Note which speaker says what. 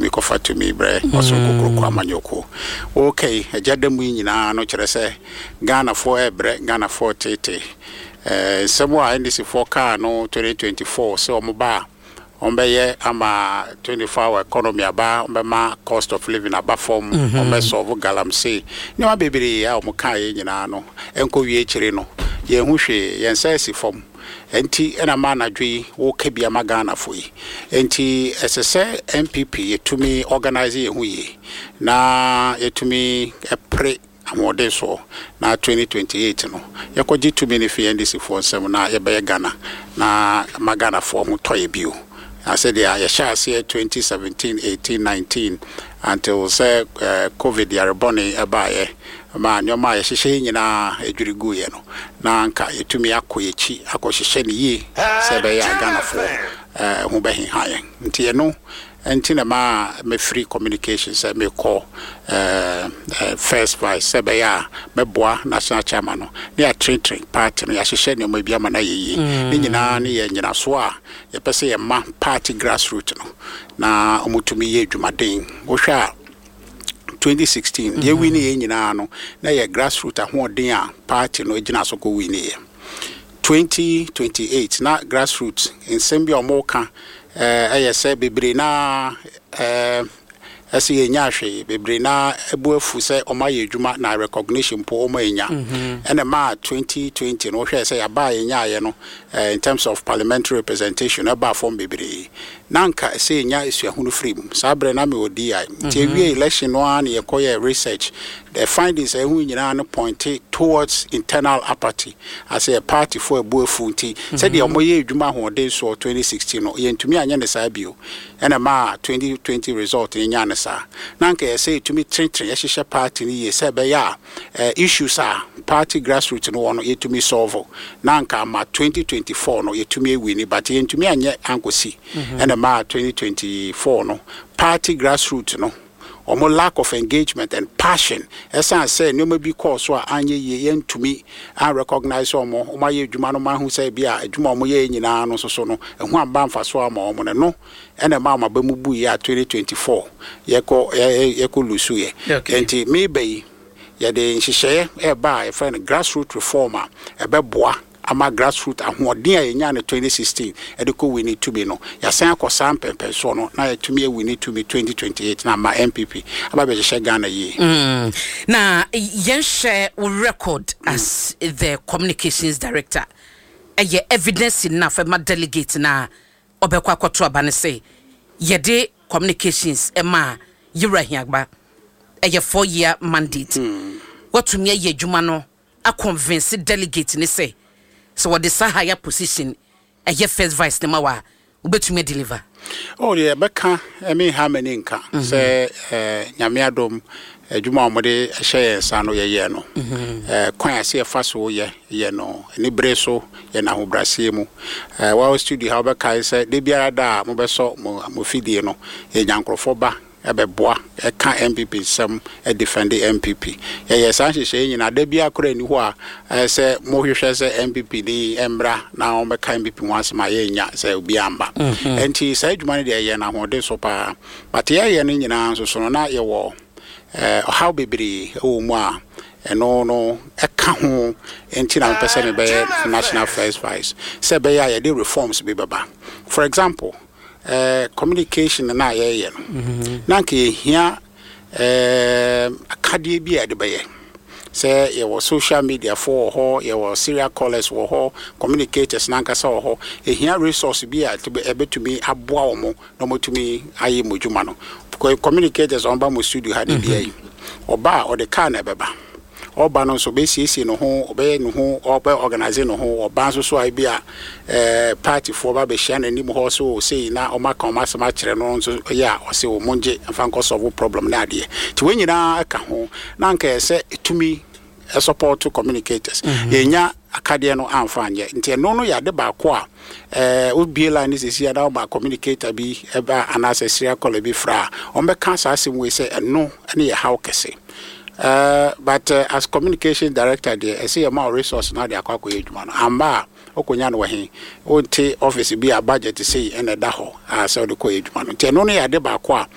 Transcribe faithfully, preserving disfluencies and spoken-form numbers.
Speaker 1: Yɛtumi kɔfa tumi brɛ Ɔsoro Kokoroko Amanyɔkuo. Okay, agya da mu yi nyinaa no kyerɛ sɛ Ghanafoɔ ɛbrɛ, Ghanafoɔ tete. ɛɛ nsɛm a N D C foɔ kaa no twenty twenty-four sɛ ɔmo ba a, ɔmbɛyɛ ama twenty-four hour economy aba, ɔmbɛma cost of living aba fam, ɔmbɛsolve galamsey, nneɛma bebree a ɔmo kaa yɛ nyinaa no, ɛnkɔ wie akyire no, yɛn ho hwee, yɛn nsa asi fam. Nti ɛna ma anadwo yi wɔka bi ama Ghanafoɔ yi. Nti ɛsɛ sɛ N P P yɛtumi organise yɛn ho yie na yɛtumi ɛpere ahoɔden soɔ na twenty twenty-eight no yɛkɔgye tumi no fi N D C foɔ nsɛm na yɛbɛyɛ Ghana na ma Ghanafoɔ ho tɔ yɛ bio. Na sɛdeɛ yɛhyɛ aseɛ twenty seventeen, eighteen, nineteen until sɛ uh, COVID yarebɔne ɛbaeɛ ma nneɛma a yɛhyehyɛ yi nyinaa adwiri guiɛ no, na anka yɛtumi akɔ yɛkyi akɔhyehyɛ no yie sɛ ɛbɛyɛ a Ghanafoɔ eh, ho bɛheha yɛn. Nti ɛno nti na maa mɛfiri communication sɛ mekɔ eh, eh, first vice sɛ ɛbɛyɛ a mɛboa national chairman no ne yɛatenetene party no, yɛahyehyɛ nneɛma bi ama no ayɛ yie. Ne nyinaa ne yɛ nyinasoɔ a yɛpɛ sɛ yɛma party grassroot no na ɔmotumi yɛ adwumaden. Wohwɛ a, twenty sixteen deɛ win yɛ nyinaa no, na yɛ grassroot ahoɔden a party no gyina so kɔ win yɛ. twenty twenty-eight na grassroot nsɛm bi a ɔmo ka ɛyɛ sɛ bebree na ɛɛ ɛsɛ yɛnya hwee, bebree na ɛbu afu sɛ ɔmo ayɛ adwuma na recognition mpo ɔmo anya. Ɛna maa twenty twenty no, wohwɛ sɛ yɛaba a yɛnyaayɛ no, in terms of parliamentary representation, ɛbaa fam bebree. Na nka sɛ yɛnya esuahunu firi mu. Saa berɛ na mewɔ D I, nti ewie election no ara na yɛkɔyɛ research. The findings a ɛho nyinaa no point towards internal apathy asɛ party fo ɛbu afu. Nti sɛdeɛ ɔmo yɛ adwuma ahoɔden soɔ twenty sixteen no, yɛntumi anyɛ ne saa bio. Ɛna maa twenty twenty result no nya ne saa. Na nka yɛsɛ yɛtumi tenetene yɛhyehyɛ party no yie sɛ ɛbɛyɛ a issues a party grassroots no wɔ no yɛtumi solve, na nka ama twenty twenty-four no yɛtumi awin. But yɛntumi anyɛ ankɔsi. Ɛna maa twenty twenty-four no, party grassroots no, ɔmo lack of engagement and passion, ɛsan sɛ nneɛma bi kɔɔ so a anyɛ yie, yɛntumi anrecognize ɔmo. Ɔmo ayɛ adwuma no, ma ahu sɛ bi a adwuma a ɔmo yɛ nyinaa no nso so no ɛho amba mfa so ama ɔmo no no ɛna ɛma ɔmo aba mu bu yɛ a twenty twenty-four yɛkɔ yɛkɔ lose yɛ. Nti meba yi, yɛde nhyehyɛeɛ ɛɛba a yɛfrɛ no grassroot reform a ɛbɛboa ama grassroot ahoɔden a yɛnya no twenty sixteen ɛde kɔ win tumi no, yɛasan akɔ saa mpɛmpɛnsoɔ no na yɛtumi awin tumi twenty twenty-eight na ama N P P aba bɛhyehyɛ Ghana yie.
Speaker 2: mm. na yɛnhwɛ wo record as the communications director, ɛyɛ evidence enough ɛma delegate na ɔbɛkɔ akɔto aba no sɛ yɛde communications ɛma Yɛwura Hiagba, ɛyɛ four year mandate mm. Watumi ayɛ adwuma no aconvince delegate ne sɛ sɛ wɔde saa higher position, ɛyɛ first vice ne ma wa, wobɛtumi deliver?
Speaker 1: Oh, deɛ ɛbɛka ɛme ha m'ani nka sɛ eh, Nyame adom, adwuma a wɔde hyɛ yɛn nsa no, yɛyɛ no eh, kwan a sɛ yɛfa so yɛ yɛ no ne bere so, yɛ no ahobrɛaseɛ mu. eh, wɔwɔ studio ha, wobɛkae sɛ da biara da a mobɛsɔ mo mo fidie no, yɛnya nkurɔfoɔ ba ɛbɛboa ɛka N P P nsɛm, ɛdefend N P P. Yɛyɛ saa nhyehyɛeɛ nyinaa. Da biara koraa ni hɔ a ɛyɛ sɛ mohwehwɛ sɛ N P P ni mmra na wɔbɛka N P P ho asɛm a yɛnya sɛ obi amba. Nti saa adwuma no deɛ, yɛyɛ no ahoɔden so paa. But yɛyɛ no nyinaa nso so no, na yɛwɔ ɛɛ ɔhaw bebree ɛwɔ mu a ɛno no ɛka ho. Nti na mepɛ sɛ mebɛyɛ national first vice sɛ ɛbɛyɛ a yɛde reforms bi bɛba. For example, uh, communication na yɛyɛ no, na nka yɛhia uh, akadeɛ bi a yɛde bɛyɛ sɛ yɛwɔ social media fo wɔ hɔ, yɛwɔ serial callers wɔ hɔ, communicators nankasa wɔ hɔ. Ɛhia resource bi a ɛbɛtumi aboa wɔn na wɔtumi ayɛ mo dwuma no. Communicators a wɔba mo studio ha de bia yi, ɔba a, ɔde car na ɛbɛba. Ɔba no nso, ɔbɛsiesie ne ho, ɔbɛyɛ ne ho, ɔbɛ organise ne ho. Ɔba nso so a, bi a ɛɛ partyfoɔ ba bɛhyia n'anim hɔ so sei na ɔmo aka ɔmo asɛm akyerɛ no nso yɛ a, ɔsɛ ɔmo ngye mfa nkɔ solve problem ne adeɛ. Nti wɔn nyinaa ka ho na nka yɛ sɛ etumi support communicators. Yɛnya akadeɛ no amfa anyɛ. Nti ɛno no yɛ ade baako a ɛɛ wobie line ne sisi a na ɔma communicator bi ɛba anaasɛ serial caller bi fra a, ɔmbɛka saa asɛm wei sɛ ɛno ɛne yɛ haw kɛse. Uh, but uh, as communication director deɛ, ɛsɛ yɛ ma wo resource na de akɔ akɔyɛ adwuma no. Amba a, wokɔnya no wɔ he? Wonte office bi a budget sei ɛna ɛda hɔ a sɛ wode kɔyɛ adwuma no. Nti ɛno no yɛ ade baako a